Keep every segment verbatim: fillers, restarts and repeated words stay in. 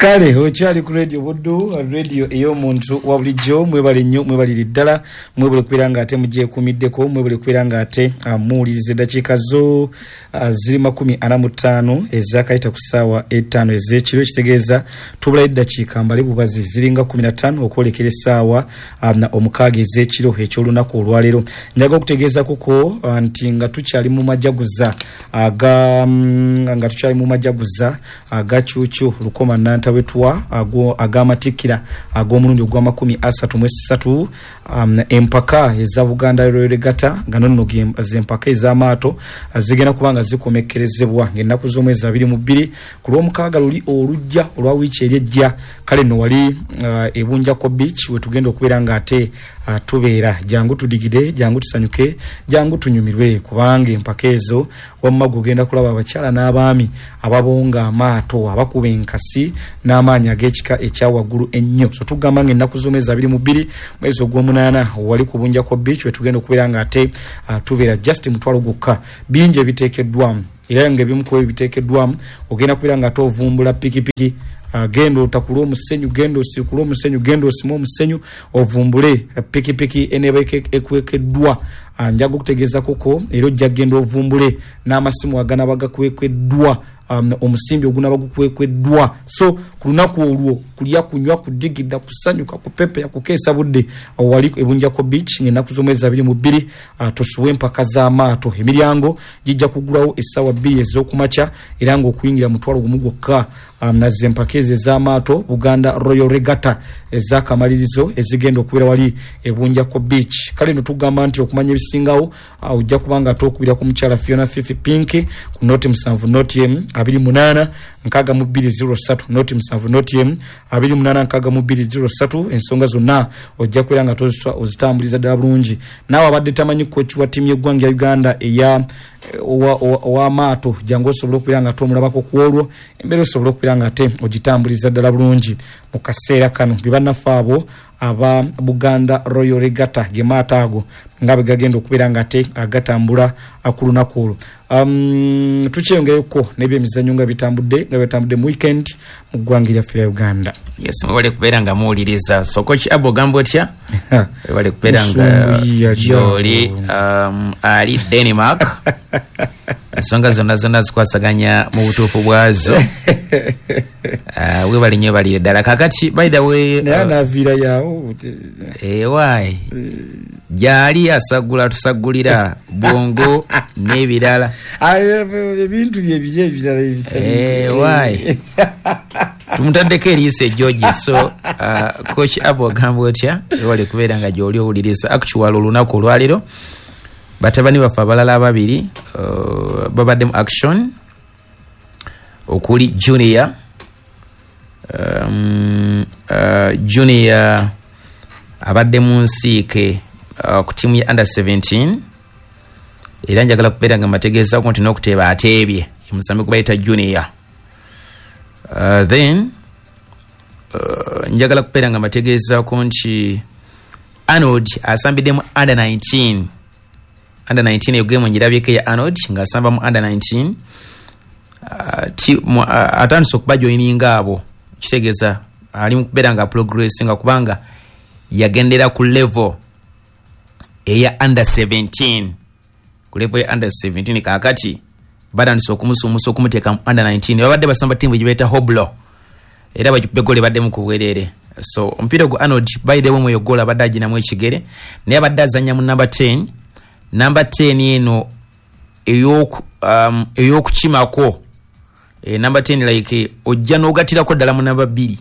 Kale okyali ku Radio Buddu, radio ey'omuntu wa bulijjo. Mwebale nnyo, mwebalire ddala, mwebale kubeera nga ate mugyekuumiddeko, mwebale kubeera nga ate ah, muwuliriza. Eddakiika zo ah, ziri makumi ana mu ttaano ezakayita ku ssaawa ettaano ez'ekiro, ekitegeeza tubulayo eddakiika mbale bubazi ziringa kumi na ttaano okwolekera essaawa ah, na omukaaga ez'ekiro eky'olunaku olwaleero. Njaga okutegeeza kuko ah, nti nga tukyali mu majaguza aga mm, nga tukyali mu majaguza aga Cuucu Lukoma Nantawetwa ago- ag'amatikkira ag'omulundi ogw'amakumi asatu mu esatu, um, empaka eza Buganda Royal Regatta, nga nonno ge- zempaka ez'amaato zigenda kuba nga zikomekkerezebwa ng'ennaku z'omwezi abiri mu bbiri ku lw'omukaaga luli olujja olwa wiiki eri ejja. Kale nno wali uh, Ebunjako Beach wetugenda okubeera nga ate uh, tubeera. Jangu tudigide, jangu tusanyuke, jangu tunyumirwe, kubanga empaka ezo wamma gugenda kulaba abakyala n'abaami ababonga amaato, abakuba enkasi n'amaanyi ag'ekika ekyawaggulu ennyo. So tugamba nga ennaku z'omwezi abiri mu bbiri mwezi ogw'omunaana wali ku Bunjako Beach wetugenda okubeera nga ate uh, tubeera. Just mutwalo gwokka, bingi ebiteekeddwamu, era nga ebimu ku ebyo biteekeddwamu ogenda kubeera nga ate ovumbula pikipiki. Uh, genda otakule omusenyu, genda osikule omusenyu, genda osime omusenyu, ovumbule pikipiki eneeba ekwekeddwa. Uh, njaga okutegeeza koko era ojja kgenda ovumbule n'amasimu aganaba gakwekeddwa, um, omusimbi ogunaba gukwekeddwa. So ku lunaku olwo kulya, kunywa, kudigida, kusanyuka, kupepeya, kukeesa budde wali Ebunjako Beach ng'ennaku z'omwezi abiri mu bbiri uh, tosuwe empaka z'amaato. Emiryango gijja kugulawo essaawa bbiri ez'okumakya, era ng'okuyingira mutwalo gumu gwokka. um, naze empaka ezo ez'amaato, Buganda Royal Regatta ez'akamalirizo ezigenda okubeera wali Ebunjako Beach. Kale no tugamba nti okumanya ebisingawo uh, ojja kuba nga ate ku mukyala Fiona Fifi Pink ku noti musanvu noti emu abiri munaana nkaaga mu bbiri zero ssatu, noti musanvu noti emu abiri munaana nkaaga mu bbiri zero ssatu. Ensonga zonna ojja kubeera nga ozitambuliza ddala bulungi. Naawe abadde tamanyi coach wa ttiimu y'eggwanga ya Uganda eya ow'amaato, jangu osobole okubeera nga ate omulabako ku olwo, embeera osobole okubeera nga ate ogitambuliza ddala bulungi. Mu kaseera kano bye bannaffe abo aba Buganda Royal Regatta, gemaato ago nga bwe gagenda okubeera nga ate agatambula ku lunaku olwo. um, tukyeyongereko n'ebyemizannyo nga bitambudde nga bitambudde mu weekend mu ggwanga eryaffe lya Uganda. Yes, mwebale kubeera nga muwuliriza. So Coach Abo, ogamba otya? Webale kubeera nga gyoli, um, ali Denmark. Ensonga zonna zonna zikwasaganya mu butuufu bwazo. uh, webale nnyo, balire ddala. Kakati by the way, naye anaaviira yawo. Ewaayi gyali asagula, tusagulira bwongo n'ebirala. Ebintu bye biri ebirala. Ewaayi tumutaddeko eriiso ejjogi. So uh, Coach Abo, ogamba otya? Webale kubeera nga gyoli owuliriza. Actual olunaku olwaleero batabani baffe abalala ababiri uh, babadde mu action, okuli Junior, um, uh, Junior abadde mu nsiike uh, ku tiimu ya under seventeen, era njagala kubeera nga mbategeezako nti n'okuteeba ateebye musambi gubayita Junior. uh, then uh, njagala kubeera nga mbategeezaako nti Arnold asambidde mu under nineteen. Under nineteen, eyo game ngirabyeko ya Arnold ng'asamba mu under nineteen. uh, ti, mu, uh, atandise okuba joininga abo, kitegeeza ali mu kubeera nga progressinga, kubanga yagendera ku level eya under seventeen, ku level ya under seventeen. Kakati batandise okumusuumusa okumuteeka mu under nineteen. Babadde basamba tiimu gye Hoblo, era bagikuba eggoolo ebaddemu ku bwereere. So omupiira gwa Arnold, by the way, mweyo goolo abadde aginamu ekigere, naye abadde azannya mu number ten. Number ten eno um, ey'okukimako, e, number ten like ojja n'ogatirako ddala mu namba bbiri,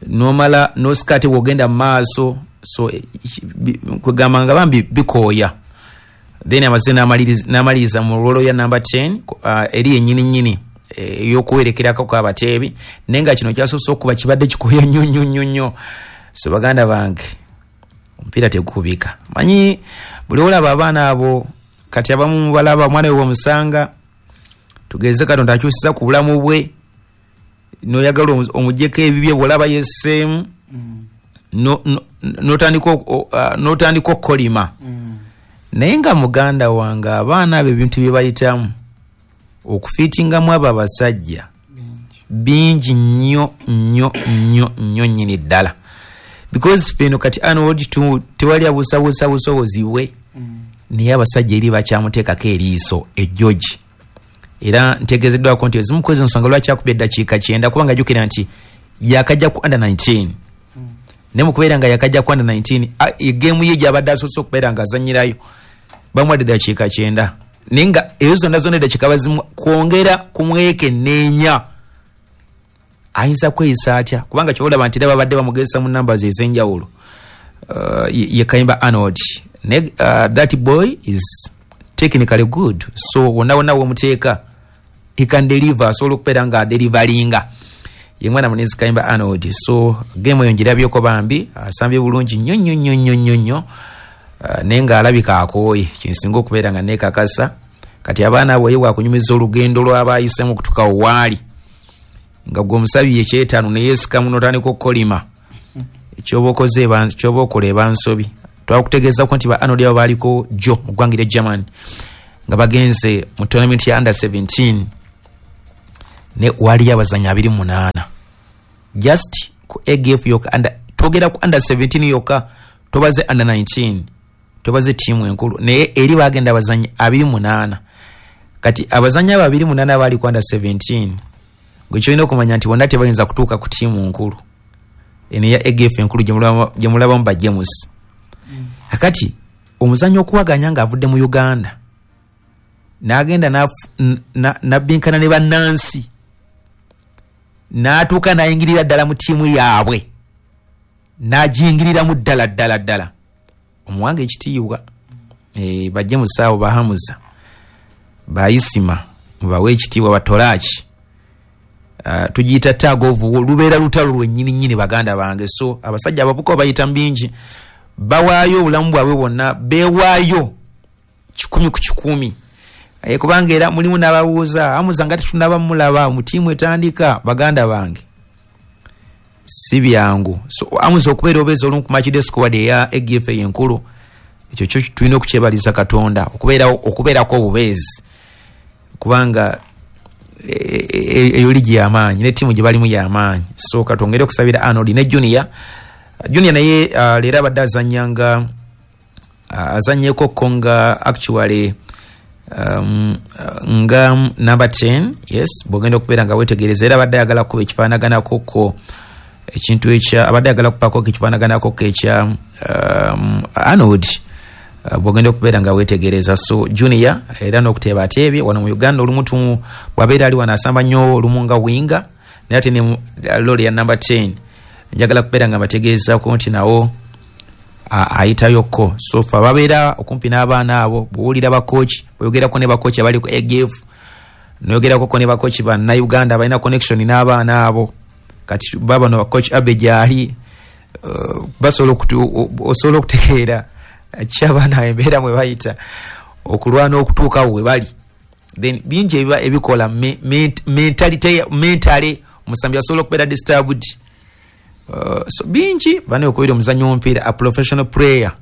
nomala nosika ate bwogenda mu maaso. So eh, kwegamba nga bambi bikooya. Then amaze n'amaliriza mu role ya number ten, uh, eri yennyini nnyini ey'okuwerekerako ku abateebi, naye nga kino kyasoose okuba kibadde kikooya nnyo nnyo nnyo nnyo. So baganda bange, omupiira tegukubika. Manyi buli olaba abaana abo kati abamu mubalaba, omwana we bwemusanga, tugeze Katonda akyusiza ku bulamu bwe, noyagala omugyeko ebibye, bwolaba yesseemu notandika okukolima. Naye nga muganda wange, abaana abo ebintu bye bayitamu okufiitingamu abo abasajja. Bingi nnyo nnyo nnyo nnyo nnyini ddala, because feno kati Arnold tewali abuusabuusa busobozi bwe, naye abasajja eri bakyamuteekako eriiso ejjogi. Era ntegeezeddwako nti ezimu ku ezo nsonga lwaki akubye eddakiika kyenda, kubanga jjukira nti yakajja ku under nineteen, naye mukubeera nga yakajja ku under nineteen, egeemu ye gyabadde asoose okubeera nga azannyirayo bamuwadde eddakiika kyenda, naye nga ezo zonna zonna eddakiika bazimu kwongera kumwekenneenya ayinza kweyisa atya, kubanga kyobalaba nti era babadde bamugezesa mu numbers ez'enjawulo. uh, ye Kayimba Arnold, ne uh, that boy is technically good, so wonna wonna womuteeka he can deliver, asobola okubeera nga adelivaringa. Ye mwana munenzi Kayimba Arnold. So game eyo ngirabyeko, bambi asambye bulungi nnyo nnyo nnyo nnyo nnyo nnyo, uh, naye ng'alabika akooye, kinsinga okubeera nga neekakasa. Kati abaana abo ye bwakunyumiza olugendo lw'abayisemu okutuuka waali, nga gwe omusabi ekyetaano neyeesikamu n'otandika okukolima, kyoba okoze kyoba okola eba nsobi. Twakutegeezako nti ba Arnold abo baaliko jjo mu ggwanga erya German nga bagenze mu tournament ya under seventeen, ne waliyo abazanyi abiri mu munaana just ku A G F yokka. Under, twogera ku under seventeen yokka, tobaze under nineteen, tobaze ttiimu enkulu, naye eri bagenda abazanyi abiri mu munaana. Kati abazanyi abo abiri munaana baali ku under seventeen, gwe kyolina okumanya nti bonna tebayinza kutuuka ku ttiimu nkulu eno eya A G F enkulu gye mulabamu ba James. Kakati omuzanyi okuwaganya ng'avudde mu Uganda n'agenda n'abbinkana ne bannansi n'atuuka n'ayingirira ddala mu ttiimu yaabwe, n'agiyingiriramu ddala ddala ddala, omuwanga ekitiibwa. e, bajje musaawo bahamuza bayisima mubawe ekitiibwa batolaki. uh, tugiyita tug of war, lubeera lutalo lwennyini nnyini, baganda bange. So abasajja abavuka bayita bingi, bawaayo obulamu bwabwe bwonna, beewaayo kikumi ku kikumi. e, kubanga era mulimu n'ababuuza amuza nga tetunaba mulaba mu ttiimu etandika. Baganda bange, si byangu. So amuza okubeera obeeza olumu ku matchday squad eya A G F enkulu, ekyo kyo tulina okukyebaliza Katonda, okubeerako obubeezi, kubanga eyo ligi yamaanyi ne ttiimu gye balimu yamaanyi. So katwongere okusabira Arnold ne Junior. Junior naye uh, leero abadde azanya nga uh, azanyeko nga actually um, nga number ten. Yes, bwogenda okubeera nga wetegereza, era abadde ayagala kuba ekifaanaganako ko ekintu ekya, abadde ayagala kupako ekifaanaganako ko ekya um, Arnold, uh, bwogenda okubeera nga wetegereza. So Junior era n'okuteeba ateebye wano mu Uganda. Olumu bwabeera ali wano asamba nnyo olumu nga winger, naye ate ne role ya number ten njagala kubeera nga mbategeezako nti nawo ayitayokko. So fe babeera okumpi n'abaana abo, bwowulira bakochi bweyogerako ne bakochi abali ku A G F, noyogerakoko ne bakochi bannauganda balina connection n'abaana abo, kati babano bakochi abe gyali, uh, basobola osobola okutegeera ki abaana embeera mwe bayita okulwana okutuukawo we bali. Then bingi ebiba ebikola mentality, mentally omusambi asobola okubeera disturbed. uh, so bingi bane okubeera omuzannyo w'omupiira, a professional player,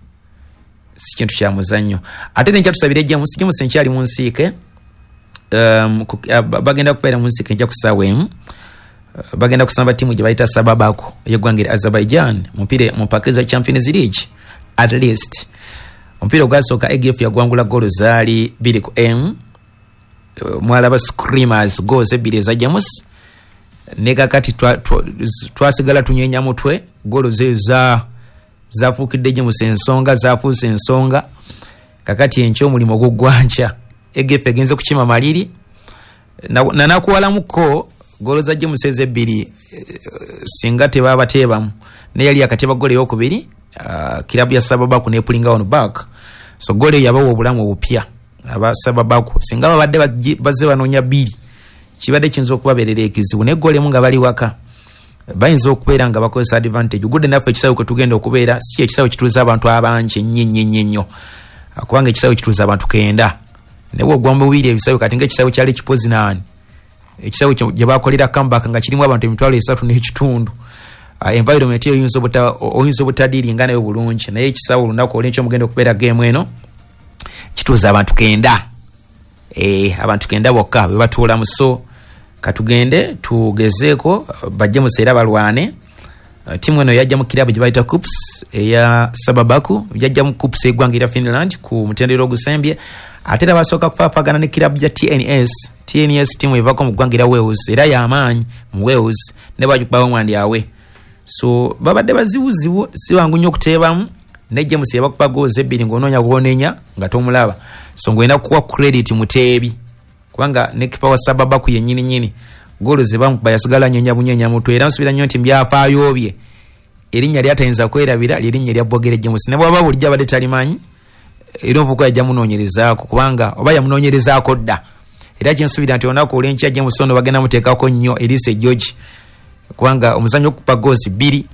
si kintu kya muzannyo. Ate nenkyatusabire James. James enkyali mu nsiike, um, uh, bagenda kubeera mu nsiike enkya ku ssaawa emu. uh, bagenda kusamba ttiimu gye bayita Sababako eyeggwanga erya Azerbaijan mupiira mu mpaka eza Champions League. At least omupiira ogwasooka A G F yagwangula golo zaali bbiri ku emu. uh, mwalaba screamers goals ebbiri eza James, ne kakati twasigala tunyenya mutwe. Golo zeyo za zafuukidde James ensonga, zafuuse ensonga. Kakati enkya omulimu oguggwankya A G F egenze kukima maliri nanakuwalamuko golo za James ezo ebbiri, eh, singa tebaba teebamu, naye yali akateba golo eyokubiri, uh, kirabu ya Sababaku nepullinga on back. So golo eyo yabawa obulamu obupya aba Sababaku. Singa babadde bazze banoonya bbiri, kibadde kiyinza okubabeerera ekizibu, naye golo emu nga bali waka bayinza okubeera nga bakozesa advantage. Gudde naffe ekisawe kwe tugenda okubeera si ekisawe kituuza abantu abangi ennyo ennyo ennyo ennyo, kubanga ekisawe kituuza abantu kenda, naye bwogwa mu bubiri ebisawe kati nga ekisawe kyali Kipozinaani, ekisawe gye bakolera comeback nga kirimu abantu emitwalo esatu n'ekitundu, environment eyo oyinza obutadiiringa nayo bulungi. Naye ekisawe olunaku olwenkyo mugenda okubeera game eno kituuza abantu kenda, e, abantu kenda bokka bwe batuulamu. So Katugende tugezeeko bajje museera balwane. Uh, timu eno yajja mu kirabu gye bayita Kups eya Sababaku, yajja mu Kups eggwanga erya Finland ku mutendera ogusembye. Ate era basooka kufaafagana ne kirabu ya T N S. T N S timu evako mu ggwanga erya Wales, era y'amaanyi mu Wales, ne bagikubawo mwandi awe. So babadde bazibuzibu, si bangu nnyo okuteebamu, ne James yabakuba goals ebbiri ng'onoonya gw'onenya nga tomulaba. So ng'olina kuwa credit muteebi, kubanga ne kipa wa Sababaku yennyini nnyini goolo ze bamukuba yasigala anyeenya bunyeenya mutwe. Era nsuubira nnyo nti mu byafaayo bye erinnya lyatayinza kwerabira lyerinnya erya Bogere James, ne bw'aba bulijjo abadde talimanyi, era omuvubuka yajja munoonyerezaako, kubanga oba yamunoonyerezaako dda. Era kyensuubira nti olunaku olw'enkya James ono bagenda muteekako nnyo eriiso ejjogi, kubanga omuzannyo okukuba goozi bbiri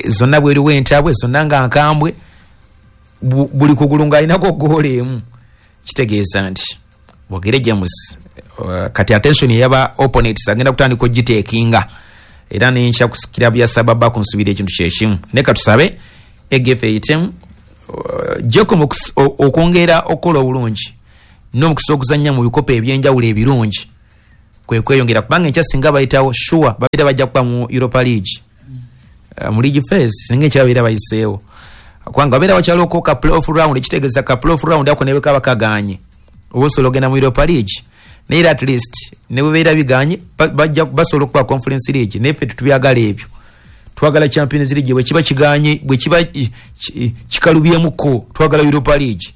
zonna bweriwo entabwe zonna nga nkambwe, buli kugulu ng'alinako goolo emu, kitegeeza nti Bogere James uh, kati attention eyaba opponents agenda kutandika ogiteekinga. Era nenkya ku kirabu ya Sababaku nsuubira ekintu kyekimu, naye katusabe E G F eyitemu uh, Jacom okwongera okukola obulungi n'omukisa okuzannya mu bikopo ebyenjawulo ebirungi kwe kweyongera, kubanga enkya singa bayitawo sure babeera bajja kuba mu Europa League, uh, mu league phase singa enkya babeera bayiseewo, kubanga babeera wakyaloko ka playoff round, ekitegeeza ka playoff round ako ne bwe kaba kaganye oba osobola ogenda mu Europa League. Naye era at least ne bwe beera biganye bajja basobola okuba Conference League, naye ffe tetubyagala ebyo, twagala Champions League. Bwe kiba kiganye, bwe kiba kikalubyemuko, twagala Europa League.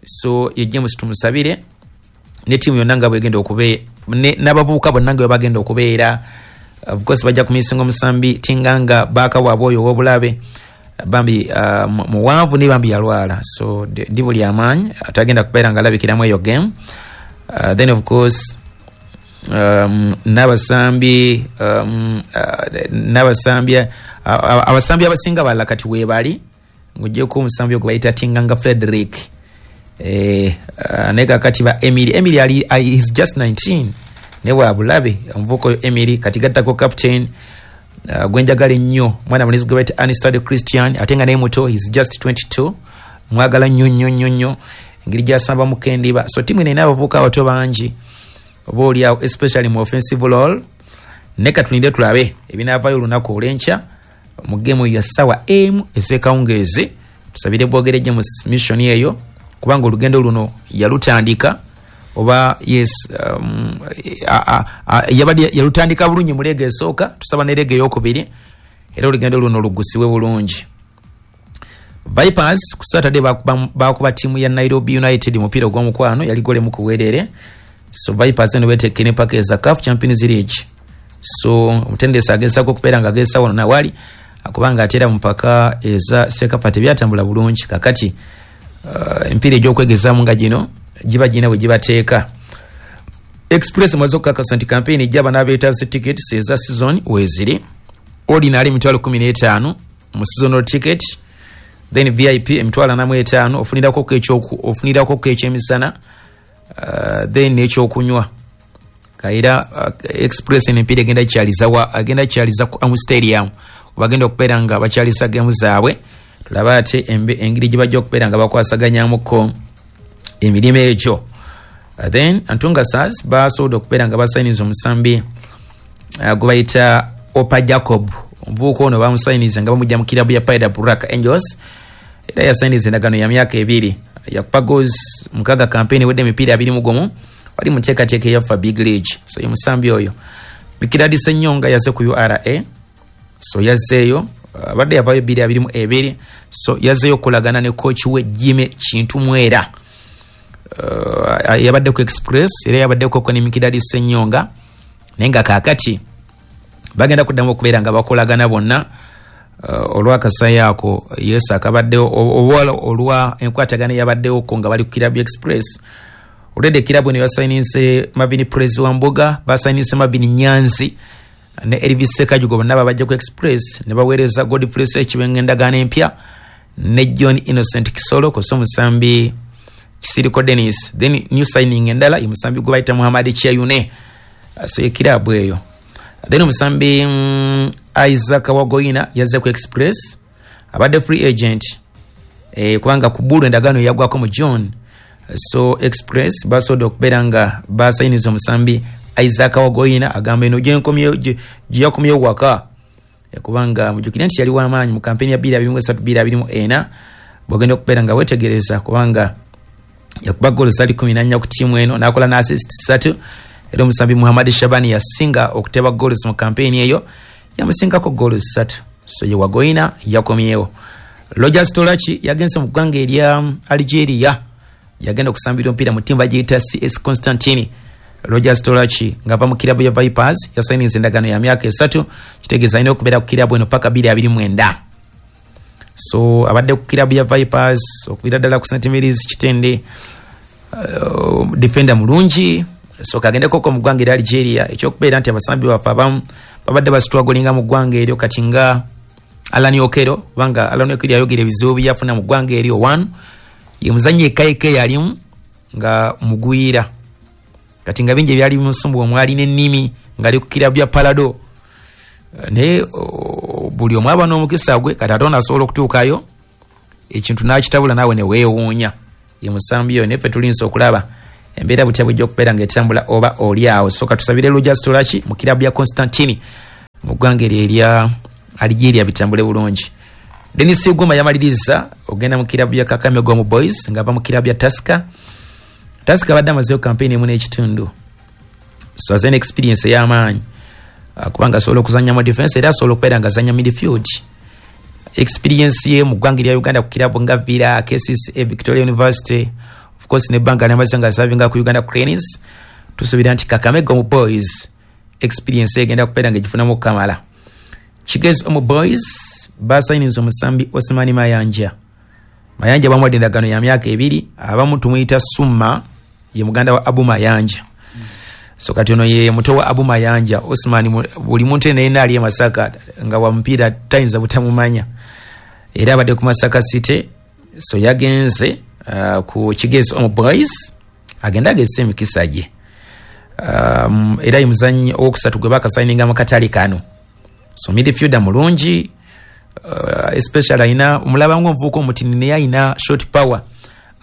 So ye James tumusabire ne tiimu yonna nga bwegenda okubeera n'abavubuka bonna nga bwe bagenda okubeera. Of course bajja kumisinga omusambi Tinganga baaka waabwe oyo ow'obulabe, bambi uh, muwanvu naye bambi yalwala, so ndi buli amaanyi atagenda kubeera nga alabikiramu eyo game. uh, then of course um, n'abasambi um, uh, n'abasambi uh, abasambi abasinga balala kati weebali, ng'oggyeko omusambi ogwo bayita Tinganga Frederick. Eh, uh, naye kakati ba Emily Emily ali uh, is just nineteen, naye wabulabe omuvubuka oyo Emily. Kati gattako captain uh, gwenjagala ennyo, mwana mulenzi gwe bayita Anistad Christian, ate nga naye muto, is just twenty-two. Mwagala nnyo nnyo nnyo nnyo engeri gyasamba mukendiba. So timu eno erina abavubuka abato bangi oba oliawo, especially mu offensive role. Naye katulinde tulabe ebinaavaayo olunaku olw'enkya mu geemu ya ssaawa emu ez'ekawungeezi. Tusabire Bwogere James mission eyo, kubanga olugendo luno yalutandika oba yes um, yabadde yalutandika bulungi mu leega esooka, tusaba ne leega eyokubiri era olugendo luno lugusibwe bulungi. Vipers ku Saturday bakuba ttiimu ya Nairobi United mupiira ogw'omukwano, yali gole mu kuweerere. So Vipers eno beetekke ne paka eza CAF Champions League. So omutendesi agezaako okubeera nga agezesa wano nawali, kubanga ate era mu mpaka eza CECAFA tebyatambula bulungi. Kakati uh, emipiira egy'okwegezaamu nga gino giba girina bwe gibateeka. Express maze okukakasa nti campaign ejja, abanaabeetaaze tickets eza season weeziri: ordinary emitwalo kumi n'etaano mu seasonal ticket, then V I P emitwalo ana mu etaano, ofunirako ofunirako ekyemisana, uh, then n'ekyokunywa. Kaira uh, Express emipiira egenda kyaliza wa agenda kyaliza ku Amu Stadium, bagenda okubeera nga bakyalisa gemu zaabwe. Tulaba ate engeri gye bajja okubeera nga bakwasaganyamuko emirimu egyo. uh, then Antunga Stars basobodde okubeera nga basayiniza omusambi uh, gwe bayita Opa Jacob. Omuvubuka ono bamusayiniza nga bamujja mu kirabu ya Paida Black Angels, era yasayiniza endagaano ya myaka ebiri. Yakuba goals mukaaga campaign ewedde emipiira abiri mu gumu, wali mu nteekateeka eyaffa Big League. So ye musambi oyo Mikiradi Senyonga yaze ku U R A. So yazzeeyo, abadde yavaayo bbiri abiri mu ebiri. So yazzeeyo okukolagana ne coach we Jime Kintu Mwera. uh, yabadde ku Express era yabaddeko ne Mikiradi Senyonga, naye nga kaakati bagenda kuddamu okubeera nga bakolagana bonna uh, olwakasayo ako yesu akabaddewo oba olwa enkwatagana eyabaddewoko nga bali ku kirabu Express. Olwedde ekirabu eno yasayininse Mavini Prezi wa Mbuga, basayininse Mavini Nyanzi ne Elvis Sekajugo, bonna babajja ku Express, ne baweereza Godfrey Sekibenga endagaano empya ne John Innocent Kisolo kosa omusambi Kisiriko Dennis. Then new signing endala ye musambi gwe bayita Muhammad Kyeyune. So ekirabu eyo. Then omusambi mm, Isaac Wagoina yazze ku Express, abadde free agent e, kubanga ku Bulu endagaano yagwako mu June. So Express basobodde okubeera nga basayiniza omusambi Isaac Wagoyina agamba eno gyenkomyewo, gye yakomyewo waka, kubanga mujjukire nti yali w'amaanyi mu kampeni ya bbiri abiri mu esatu bbiri abiri mu ena. Bw'ogenda okubeera nga weetegereza, kubanga yakuba goolo zali kumi na nnya ku ttiimu eno, n'akola n'assist ssatu. Era omusambi Muhammad Shabani yasinga okuteba goals mu kampeni eyo, yamusingako goolo ssatu. So ye Wagoyina yakomyewo. Rogers Tolaki yagenze mu ggwanga erya Algeria, yagenda okusambira omupiira mu ttiimu bagiyita C S Constantine. Rogers Tolaki ng'ava mu kirabu ya Vipers yasayininze endagaano ya myaka esatu, kitegeeza alina okubeera ku kirabu eno paka bbiri abiri mwenda. So abadde ku kirabu ya Vipers okubira ddala ku Saint Mary's Kitende, uh, defender mulungi. So kagendekoko mu ggwanga erya Algeria. Ekyokubeera nti abasambi baffe abamu babadde bastrugglinga mu ggwanga eryo, kati nga Alan Okero, kubanga Alan Okero yayogera ebizibu byeyafuna mu ggwanga eryo. One, ye muzanyi ekaeka yalimu nga mugwira, kati nga bingi ebyali bimusumbuwa, omwali n'ennimi ng'ali ku kirabu ya Parado. Naye buli omu aba n'omukisa gwe. Kati ate ono asobola okutuukayo ekintu n'akitabula naawe ne weewuunya. Ye musambi oyo, naye ffe tulinza okulaba embeera butya bwejja okubeera ng'etambula oba oli awo. So katusabire Rogers Tolaki mu kirabu ya Constantine mu ggwanga eryo erya Algeria bitambule bulungi. Denis Guma yamaliriza ogenda mu kirabu ya Kakamega Homeboyz ng'ava mu kirabu ya Tusker. Tusker abadde amazeyo kampeyini emu n'ekitundu, so azena experience ey'amaanyi, uh, kubanga asobola okuzanya mu defense era asobola okubeera nga azanya midfield. Experience ye mu ggwanga erya Uganda ku kirabu nga Villa, K C C A, Victoria University, of course nebbanga lyamaze nga asavinga ku Uganda Cranes. Tusuubira nti Kakamega Homeboyz experience egenda kubeera nga egifunamu okukamala. Kigezi Homeboyz basayininze omusambi Osmani Mayanja. Mayanja bamuwadde endagaano ya myaka ebiri. Abamu tumuyita Summa, ye muganda wa Abu Mayanja. So kati ono ye muto wa Abu Mayanja Osman. Buli muntu yenna ali e Masaka nga wa mupiira tayinza butamumanya, era abadde ku Masaka City. So yagenze uh, ku Kigezi Homeboyz, agende agezesa emikisa gye. um, era ye muzanyi owokusatu gwe bakasayininga mu katale kano. So midfielder mulungi, uh, especially alina omulaba nga omuvubuka omutini, naye alina shot power,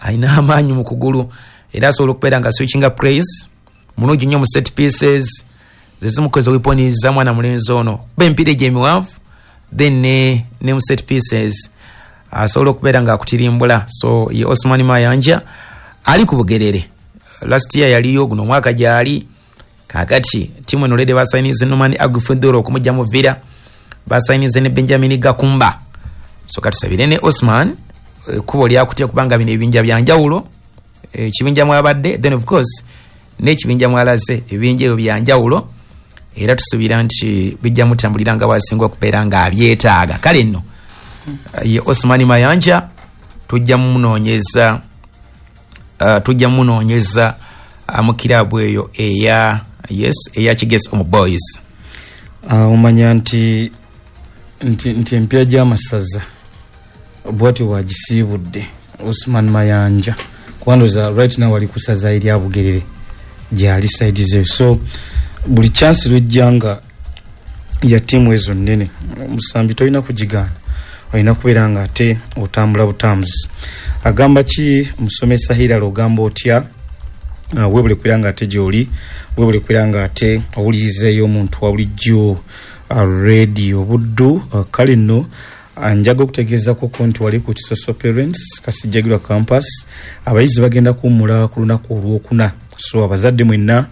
alina amaanyi mu kugulu, era asobola okubeera nga switchinga plays mulungi nnyo mu set pieces. Zezimukoze weapons za mwana mulenzi ono, kuba emipiira egyo emiwanvu, then ne, ne mu set pieces asobola okubeera nga akutirimbula. So ye Osman Mayanja ali ku Bugerere, last year yaliyo, guno omwaka gyali. Kakati timu eno already basayinize Norman Agufudoro okumujja mu Villa, basayinize ne Benjamin Gakumba. So katusabire ne Osman ekkubo lyakutya, kubanga bino ebibinja byanjawulo, ekibinja mwabadde, then of course n'ekibinja mwalaze, ebibinja ebyo byanjawulo, era tusuubira nti bijja mutambulira nga bwasinga okubeera nga abyetaaga. Kale nno ye Osman Mayanja tujja munoonyeza, uh, tujja munoonyeza uh, mu kirabu eyo eya, yes, eya Kigezi Homeboyz. uh, omanya nti nti nti empiira gy'amasaza bwatyo bwagisiibudde Osman Mayanja, kubandoza right now ali kusaza erya Bugerere, gyali side ze. So buli chance lwejja nga ya ttiimu ezo nnene, omusambi tolina kugigaana, olina kubeera nga ate otambula butambuzi. Agamba ki musomesa Hirala? Ogamba otya? uh, webule kubeera nga ate gyoli, webule kubeera nga ate owulirizeeyo omuntu wa bulijjo, uh, Radio Buddu. uh, kale nno njaga okutegeezakoko nti wali ku Kisoso Parents Kasijjagirwa Campus, abayizi bagenda kuwummula ku lunaku olwokuna. So abazadde mwenna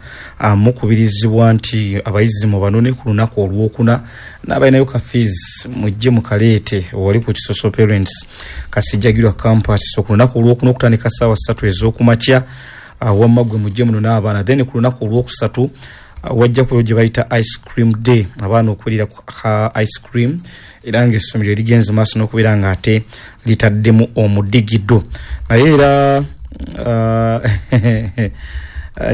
mukubirizibwa nti abayizi mubanone ku lunaku olwokuna, n'abalinayo ka fees mujje mukaleete wali ku Kisoso Parents Kasijjagirwa Campus. So ku lunaku olwokuna okutandika ssaawa ssatu ez'okumakya, wamma gwe mujje muno n'abaana. Then ku lunaku olwokusatu wajja kubeera gye bayita ice cream day, abaana okuwulira ka ice cream, era ngaessomero erigenze maaso n'okubeera nga ate litaddemu omudigido. Naye era uh,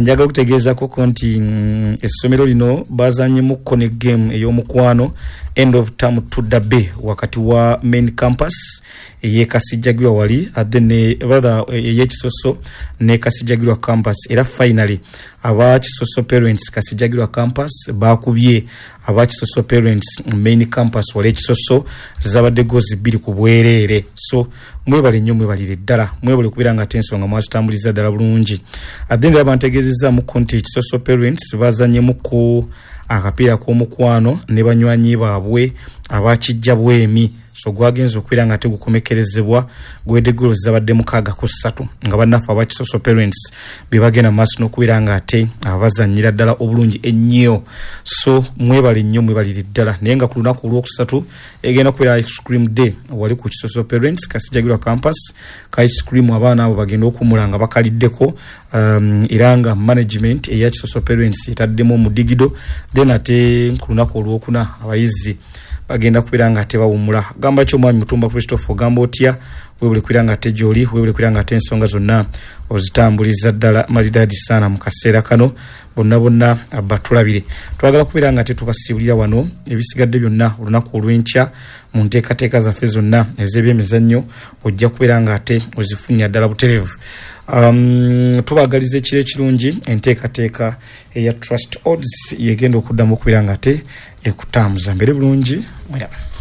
njagala okutegeezakoko nti mm, essomero lino bazanyemukko ne game ey'omukwano, end of term to derby, wakati wa main campus. ey'e Kasijjagirwa wali, then rather ey'e Kisoso ne Kasijjagirwa campus. Era finally aba Kisoso Parents Kasijjagirwa campus bakubye aba Kisoso Parents main campus wali Kisoso, zabadde goals bbiri ku bwereere. So mwebale nnyo, mwebalire ddala, mwebale kubeera nga ate ensonga mwazitambuliza ddala bulungi. Ate era bantegeezezaamuko nti Kisoso Parents bazanyemuko akapiira k'omukwano ne banywanyi baabwe abakijja bwemi. So gwagenza okubeera nga tegukomekerezebwa gwedde goals zabadde mukaaga ku ssatu, nga bannaffe aba Kisoso Parents be bagenda mu maaso n'okubeera nga ate abazannyira ddala obulungi ennyo. So mwebale nnyo, mwebalire ddala. Naye nga ku lunaku olwokusatu egenda kubeera ice cream day wali ku Kisoso Parents Kasijjagirwa campus. Ka ice cream abaana abo bagenda okumula nga bakaliddeko, um, era nga management eya Kisoso Parents etaddemu omudigido. Then ate ku lunaku olwokuna abayizi bagenda kubeera nga tebawumula. Gamba ki omwami Mutumba Christopher, ogamba otya? Webule kubeera nga ate gyoli, webule kubeera nga ate ensonga zonna ozitambuliza ddala malidadi saana. Mu kaseera kano bonna bonna batulabire, twagala kubeera nga tetubasiibulira wano. Ebisigadde byonna olunaku olw'enkya mu nteekateeka zaffe zonna ez'ebyemizannyo ojja kubeera nga ate ozifunya ddala butereevu. um, tubagaliza ekiro ekirungi. Enteekateeka eya Trust Odds yegenda okuddamu okubeera nga ate ekutambuza mbere bulungi. Mweraba.